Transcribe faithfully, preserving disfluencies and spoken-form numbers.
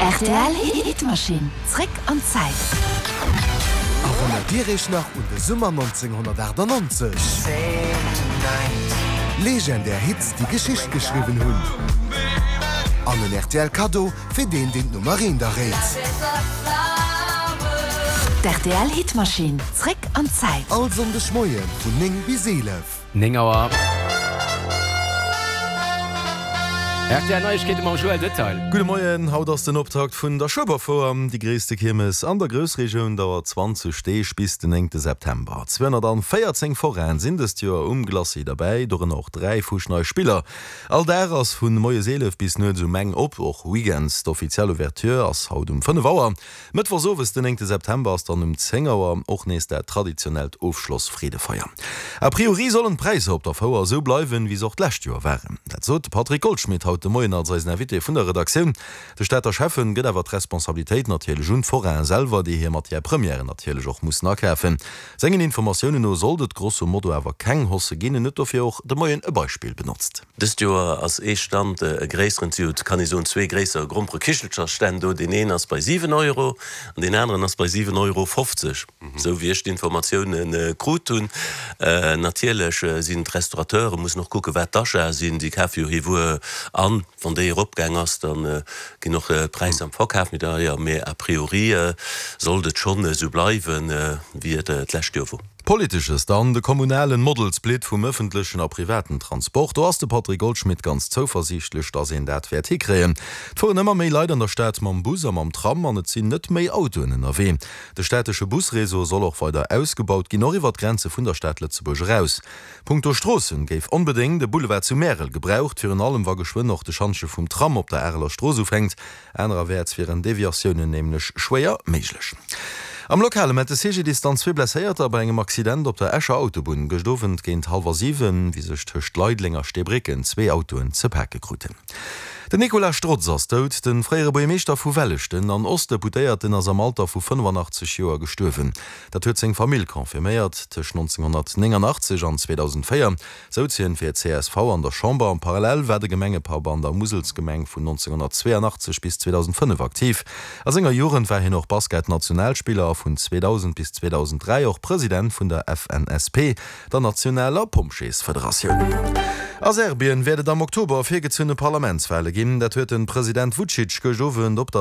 Rtl Hitmaschinn, zréck an d'Zäit. Erënnert Dir Iech nach un de Summer nonzénghonnertaachtanonzeg? Legendär Hits, déi Geschicht geschriwwen hunn. An en R T L Kaddo fir deen, deen d'Nummer eent erréit. D'R T L Hitmaschinn, zréck an d'Zäit. All Sonndeg Moie vun néng bis eelef. Néng Auer. R T L Neiegkeete mam Joël Detail. Gudde Moien, haut ass den Optakt vun der Schueberfouer. Déi gréisste Kiermes an der Groussregioun dauert zwanzeg Deeg bis den néngte September. zweehonnertvéierzéng Forainen sinn dëst Joer um Glacis derbäi, dorënner och dräi fuschnei Spiller. All Dag ass vu moies eelef bis nuets um eng op, och weekends. D'offiziell Ouverture ass haut um fënnef Auer. Mëttwochs owes, den néngte September, ass dann um zéng Auer och nees dat traditionellt Ofschloss-Freedefeier. A priori sollen d'Präisser op der Fouer esou bleiwen, wéi se och d'lescht Joer waren. Dat sot de Patrick Goldschmidt haut de Moien als eisen Invité vun der Redaktioun. De Stater Schäffen gëtt awer d'Responsabilitéit natierlech un d'Forainen selwer, déi hir Matière première natierlech och mussen akafen. Sengen Informatiounen no sollt et grosso modo awer keng Hausse ginn. En huet dofir och de Moien e Beispill benotzt. Dëst Joer ass ee Stand e gréisseren, si huet, kann ee soen, zwee gréisser Gromperekichelchersstänn do. Deen een ass bei siwen Euro an deen aneren ass bei siwen Euro fofzeg, esou wéi ech d'Informatioune krut hunn. Natierlech sinn d'Restaurateure mussen och kucken, wat d'Achatë sinn. Si kafe jo hir Wuer an. Wann déi eropgaang ass, da ginn och d'Präisser am Verkaf méi deier. Mee a priori sollt et schonn esou bleiwen, wéi et d'lescht Joer wor. Politesches dann, de kommunalen Model Split vum ëffentlechen a privaten Transport. Do ass de Patrick Goldschmidt ganz zouversiichtlech, datt een dat wäert hikréien. Et fueren ëmmer méi Leit an der Stad mam Bus a mam Tram an et sinn net méi Autoen ënnerwee. De städtesche Busreseau soll och weider ausgebaut ginn, och iwwer d'Grenze vun der Stad Lëtzebuerg eraus. Punkto Stroossen géif onbedéngt e Boulevard zu Märel gebraucht, virun allem wa geschwënn och de Schantje vum Tram op der Areler Strooss ufänkt. Anerewäerts wieren Deviatiounen nämlech schwéier méiglech. Am Lokale mellt de C G D I S dann zwee Blesséierter bei engem Accident op der Escher Autobunn gëscht Owend géint hallwer siwen, wéi sech tëscht Leideleng a Steebrécken zwee Autoen ze pake kruten. Den Nicolas Strotz ass dout. De fréiere Buergermeeschter vu Welleschten an Ostdeputéierten ass am Alter vu fënnefanaachtzeg Joer gestuerwen. Dat huet seng Famill confirméiert. Tëscht nonzénghonnertnénganaachtzeg an zweedausendvéier souz hien fir d'C S V an der Chamber. Parallel war de Gemengepapp an der Muselsgemeng vun nonzénghonnertzweeanachtzeg bis zweedausendfënnef aktiv. A senger Jugend war hien och Basket-Nationalspiller a vun zweedausend bis zweedausendräi och President vun der F N S P, der nationaler Pompjeesfederatioun. A Serbien wäert et am Oktober virgezunne Parlamentswale ginn. Dat huet de President Vučić gëscht Owend op der